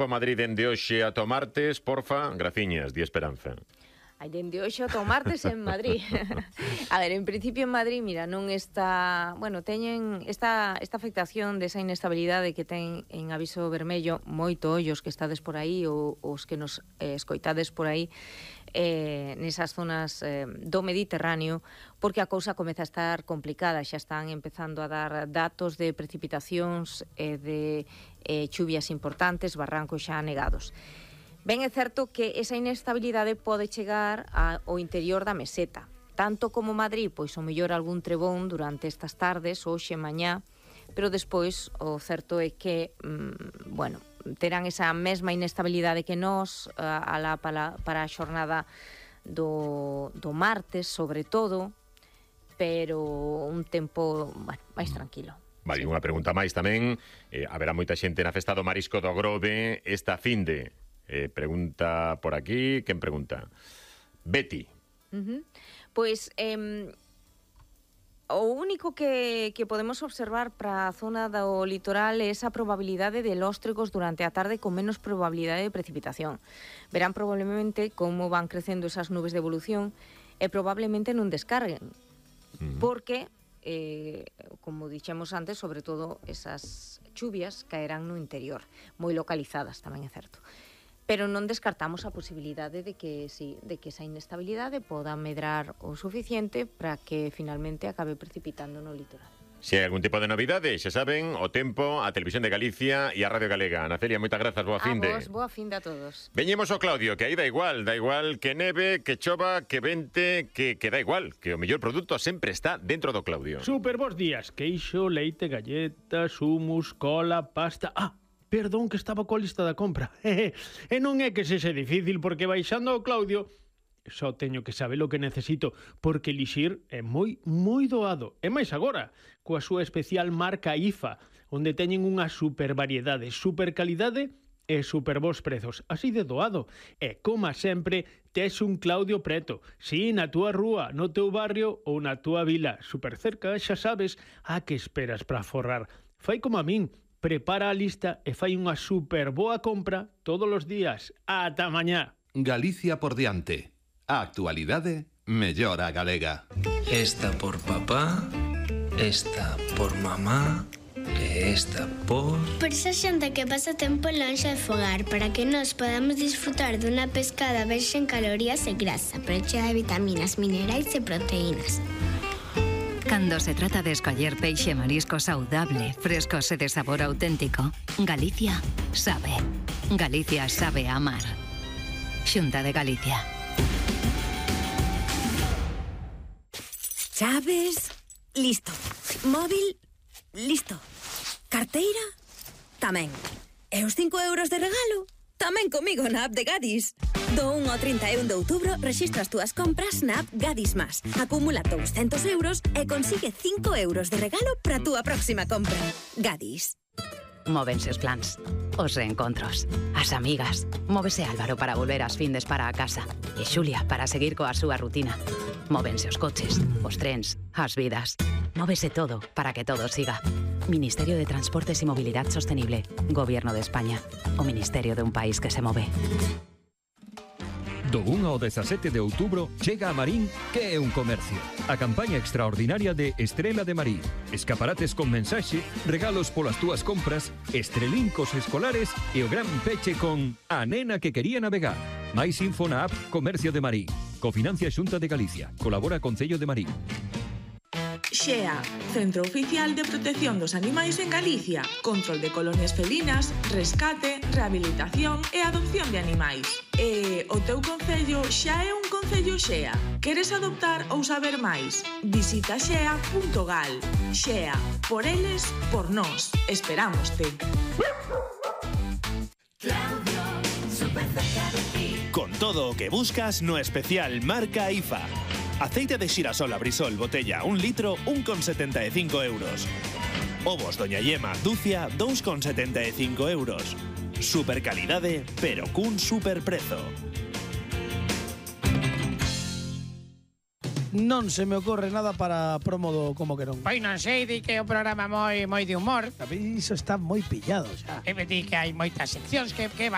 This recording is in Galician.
Madrid dende hoxe ata o martes, porfa, graciñas, di Esperanza. Hai dende hoxe ata o martes en Madrid. A ver, en principio en Madrid, mira, non está... Bueno, teñen esta afectación desa inestabilidade que ten en aviso vermello moito ollos que estades por aí ou os que nos escoitades por aí nesas zonas do Mediterráneo, porque a cousa comeza a estar complicada. Xa están empezando a dar datos de precipitacións e de chuvias importantes, barrancos xa anegados. Ben, é certo que esa inestabilidade pode chegar ao interior da meseta. Tanto como Madrid, pois o mellor algún trebón durante estas tardes, hoxe, mañá, pero despois o certo é que, bueno, terán esa mesma inestabilidade que nós para a xornada do martes, sobre todo, pero un tempo, bueno, máis tranquilo. Vale, unha pregunta máis tamén. Haberá moita xente na festa do Marisco do Grove esta finde. Pregunta por aquí, quen pregunta? Betty. Pois o único que podemos observar para a zona do litoral é esa probabilidade de lóstregos durante a tarde con menos probabilidade de precipitación. Verán probablemente como van crecendo esas nubes de evolución e probablemente non descarguen, porque, como dixemos antes, sobre todo esas chuvias caerán no interior, moi localizadas, tamén é certo. Pero non descartamos a posibilidade de que esa inestabilidade poda medrar o suficiente para que finalmente acabe precipitando no litoral. Se hai algún tipo de novidade, xa saben, o Tempo, a Televisión de Galicia e a Radio Galega. Ana Celia, moitas grazas, boa finde. A vos, boa finde a todos. Veñemos ao Claudio, que aí da igual que neve, que chova, que vente, que da igual, que o mellor produto sempre está dentro do Claudio. Super bons días, queixo, leite, galletas, humus, cola, pasta... Perdón, que estaba coa lista da compra. E non é que sexa difícil, porque baixando ao Claudio só teño que saber o que necesito, porque elixir é moi doado. E máis agora, coa súa especial marca IFA, onde teñen unha super variedade, super calidade e super bons prezos. Así de doado. E, como sempre, tes un Claudio preto. Si, na túa rúa, no teu barrio ou na túa vila. Super cerca, xa sabes, a que esperas para forrar. Fai como a min. Prepara a lista e fai unha super boa compra todos os días. Ata mañá. Galicia por diante. A actualidade mellora a galega. Esta por papá, esta por mamá e esta por... Por esa xente que pasa tempo lonxe de fogar, para que nós podamos disfrutar dunha pescada baixa en calorías e grasa, pero chea de vitaminas, minerais e proteínas. Cando se trata de escoller peixe marisco saudable, fresco e de sabor auténtico, Galicia sabe. Galicia sabe amar. Xunta de Galicia. Chaves, listo. Móvil, listo. Carteira, tamén. E os 5 euros de regalo, tamén comigo na app de Gadis. Do 1 ao 31 de outubro rexistra as túas compras na app Gadis Más. Acumula 200 euros e consigue 5 euros de regalo para a túa próxima compra. Gadis. Móvense os plans, os reencontros, as amigas. Móvese Álvaro para volver as findes para a casa e Xulia para seguir coa súa rutina. Móvense os coches, os trens, as vidas. Móvese todo para que todo siga. Ministerio de Transportes y Movilidad Sostenible. Gobierno de España. O Ministerio de un país que se move. Do 1 ao 17 de outubro chega a Marín, que é un comercio. A campaña extraordinaria de Estrela de Marín. Escaparates con mensaxe, regalos polas túas compras, estrelincos escolares e o gran peche con A nena que quería navegar. Mais info na app Comercio de Marín. Cofinancia Xunta de Galicia. Colabora Concello de Marín. XEA, Centro Oficial de Protección dos Animais en Galicia. Control de colonias felinas, rescate, rehabilitación e adopción de animais. E o teu concello xa é un concello XEA. Queres adoptar ou saber máis? Visita xea.gal. XEA, por eles, por nós. Esperámoste. Con todo o que buscas no especial marca IFA. Aceite de xirasol Abrisol botella 1 litro, 1,75 euros. Ovos Doña Yema Ducia, 2,75 euros. Super calidade, pero cun super prezo. Non se me ocorre nada para promo do Como que non. Pois non sei, di que é un programa moi de humor. A mí iso está moi pillado xa. E me di que hai moitas seccións que